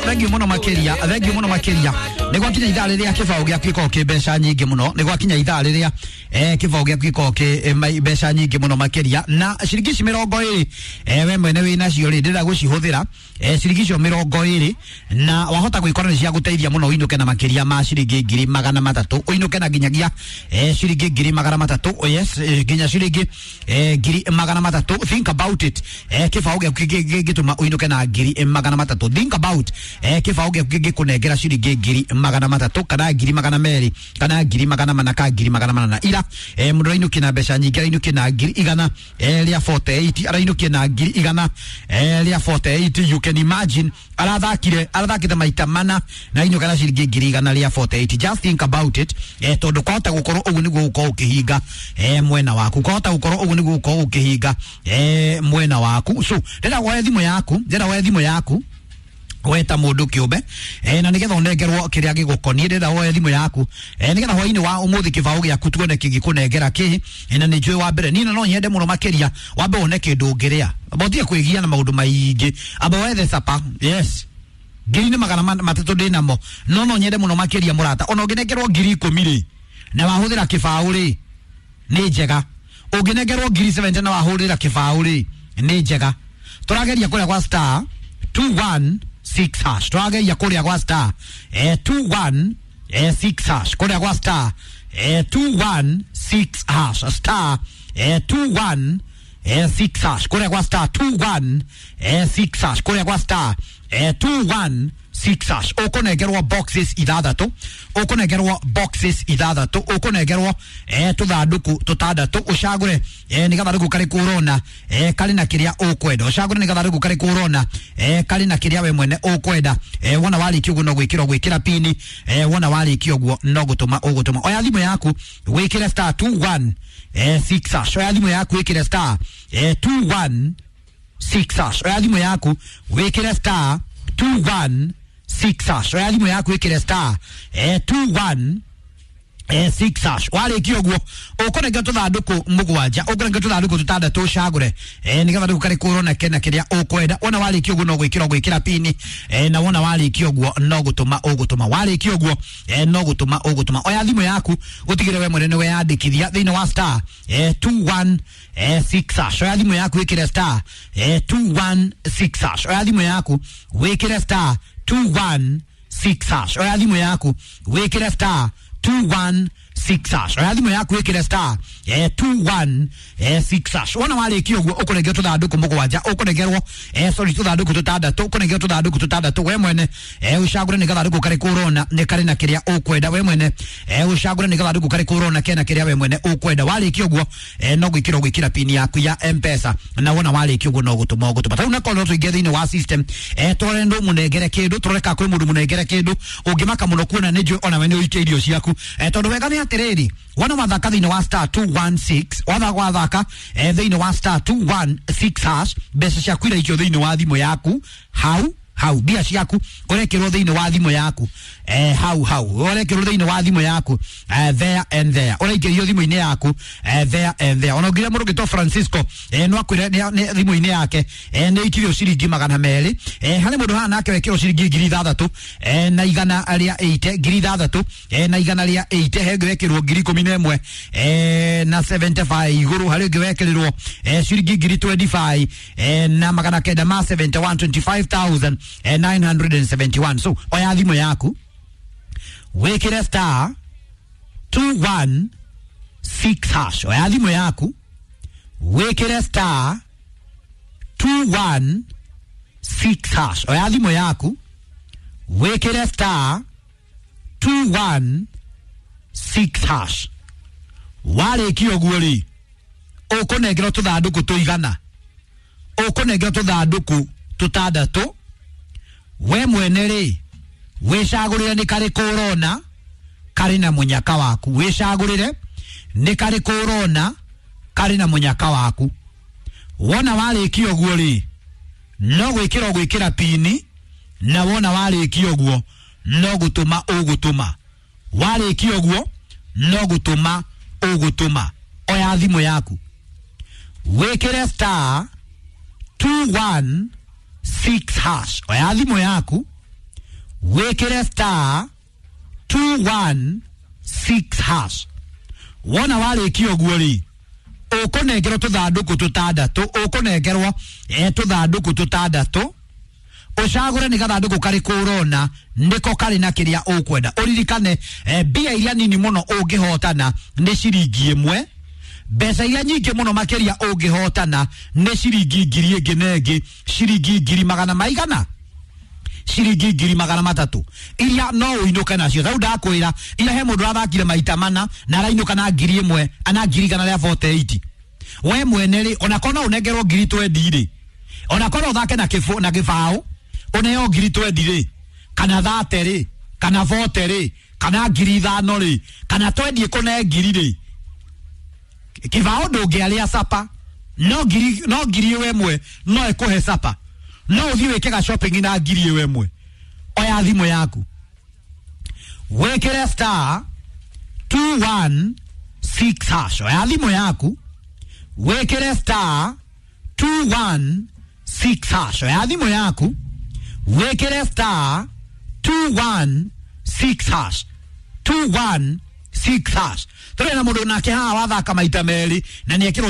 Thank you muno makiria, thank you muno makiria. Nĩ gwakinya ithaa rĩrĩa kĩbaũ gĩaku gĩkoragwo kĩ mbeca nyingĩ mũno. Nĩ gwakinya ithaa rĩrĩa kĩbaũ gĩaku gĩkoragwo kĩ mbeca nyingĩ mũno makĩria. Na ciringi ici 20 we mwene wĩ nacio rĩ, ndĩrenda gũcihũthĩra ciringi icio 20, na wahota gwĩkora nĩ cia gũteithia mũno ũinũke na makĩria ma ciringi 300,000, ũinũke na nginyagia ciringi 300,000. Yes, nginya ciringi 300,000. Think about it. Kĩbaũ gĩaku gĩngĩtũma ũinũke na 300,000. Think about kĩbaũ gĩaku gĩngĩkũnengera ciringi 300,000 kana 200,000 kana 400,000 kana 400,000. Ira mũndũ arainũkia na mbeca nyingĩ, arainũkia na 148,000, arainũkia na 148,000. You can imagine arathakire, arathakite maita mana na ainũka na ciringi 148,000. Just think about it. Tondũ kwahota gũkorwo ũguo nĩguo gũkorwo ũkĩhinga mwena waku, kwahota gũkorwo ũguo nĩguo gũkorwo ũkĩhinga mwena waku. So ndĩrenda woe thimũ yaku, ndĩrenda woe thimũ yaku weta mundu kiumbe na nigetha unengerwo kiria gigukonie. Ndĩrenda woe thimu yaku nigetha hwaini wa umuthi kibao giaku tuone kigikunengera ki. Na ni njui wa mbere ni no nyende muno makiria wambe wone kindu ungiria botie kwigia na maundu maingi, amba wethe sapa. Yes, 300,000 ndinamo, no nyende muno makiria murata ona unginengerwo 10,000 ri na wahuthira kibao ri ni njega, unginengerwo 70,000 na wahuthira kibao ri ni njega. Turageria kuria kwa star 216 hash, turageria kuria kwa star 216 hash, kuria kwa star 216 hash, star 216 hash, kuria kwa star 216 hash, kuria kwa star 216 hash. Ukunengerwo boxes ithathatu, ukunengerwo boxes ithathatu, ukunengerwo tuthanduku tutandatu, ucagure ni gathanduku kariku urona kari na kiria ukwenda, ucagure ni gathanduku kariku urona kari na kiria we mwene ukwenda. Wona warikia uguo no gwikirwo gwikira pini, wona warikia uguo no gutuma ugutuma. Oya thimu yaku wikire star 216 hash, oya thimu yaku wikire star 216 hash, oya thimu yaku wikire star 216 hash, oya thimu yaku wikire star 216 hash. Warikia uguo ukunengerwo tuthanduku mugwanja, ukunengerwo tuthanduku tutandatu, ucagure ni gathanduku kariku urona kena kiria ukwenda. Wona warikia uguo no gwikirwo gwikira pini, na wona warikia uguo no gutuma ugutuma, warikia uguo no gutuma ugutuma. Oya thimu yaku utigire we mwene niwe yandikithia thiini wa star 216 hash. Oya thimu yaku wikire star 216 hash, oya thimu yaku wikire star 216 hash, oya thimu yaku wikire star 216 hash, oya thimu yaku wikire star 216 hash. Wona warikia uguo ukunengerwo tuthanduku mugwanja, ukunengerwo sorry tuthanduku tutandatu, ukunengerwo tuthanduku tutandatu. We mwene ucagure ni gathanduku kariku urona ni kari na kiria ukwenda. We mwene ucagure ni gathanduku kariku urona kena kiria we mwene ukwenda. Warikia uguo no gwikirwo gwikira pini yaku ya M-Pesa, na wona warikia uguo no gutuma ugutuma. Tau nakorwo tuingie thiini wa system tore ndu munengere kindu, turore ka kwi mundu munengere kindu ungimaka muno kuona ni njui ona we ni uikie irio ciaku. Tondu wega ni atiriri, wona wathaka thiini wa star 216, watha wathaka thiini wa star 216 hash, mbeca ciaku iraikio thiini wa thimu yaku hau hau, mbia ciaku urekirwo thiini wa thimu yaku hau hau, urekirwo thiini wa thimu yaku there and there, uraikĩrio thimu-inĩ yaku there and there. Ona ũngĩria mũndũ ũngĩtwo Francisco no akwĩre thimu-inĩ yake nĩ ikirio ciringi 200. Harĩ mũndũ haha nake wekĩrwo ciringi 6,180, 6,180. He ũngĩ wekĩrwo 11,000 na 75 igũrũ, harĩ ũngĩ wekĩrĩrwo ciringi 25 na 971, 25,971. So oya thimu yaku wikire star 216 hash, oya thimu yaku wikire star 216 hash, oya thimu yaku wikire star 216 hash. Warikia uguo ri ukunengerwo tuthanduku tuigana, ukunengerwo tuthanduku tutandatu. We mwene ri wicagurire ni kariku urona kari na munyaka waku, wicagurire ni kariku urona kari na munyaka waku. Wona warikia uguo ri no gwikirwo gwikira pini, na wona warikia uguo no gutuma ugutuma, warikia uguo no gutuma ugutuma. Oya thimu yaku wikire star 216 hash, oya thimu yaku Wĩkĩre star 216 hash. Wona warĩkia ũguo rĩ, ũkũnengerwo tũthandũkũ tũtandatũ, ũkũnengerwo tũthandũkũ tũtandatũ, ũcagũre nĩ gathandũkũ karĩkũ ũrona nĩko karĩ na kĩrĩa ũkwenda. Ũririkane mbia iria nini mũno ũngĩhotana nĩ ciringi 1, mbeca iria nyingĩ mũno makĩria ũngĩhotana nĩ ciringi ngiri ĩngĩ na ĩngĩ, ciringi ngiri magana maigana, ciringi ngiri magana matatũ, iria no ũinũke nacio. Rĩu ndakwĩra, ira he mũndũ ũrathakire maita mana na arainũka na ngiri ĩmwe na ngiri igana rĩa 48. We mwene rĩ, onakorwo no ũnengerwo ngiri 20 rĩ, onakorwo ũthake na kĩbũ na gĩbaũ ũneo ngiri 20 rĩ, kana 30 rĩ, kana 40 rĩ, kana ngiri 5 rĩ, kana 20 ĩkũne ngiri rĩ, kĩbaũ ndũngĩarĩa sapa, no ngiri, no ngiri ĩyo ĩmwe no ĩkũhe sapa, no ũthiĩ wĩke ga shopping na ngiri ĩyo ĩmwe. Oya thimũ yaku wĩkĩre star 216 hash. Oya thimũ yaku wĩkĩre star 216 hash. Oya thimũ yaku wĩkĩre star 216 hash, 216 hash. Tũrĩ na mũndũ nake haha wathaka maita merĩ na nĩ ekĩrwo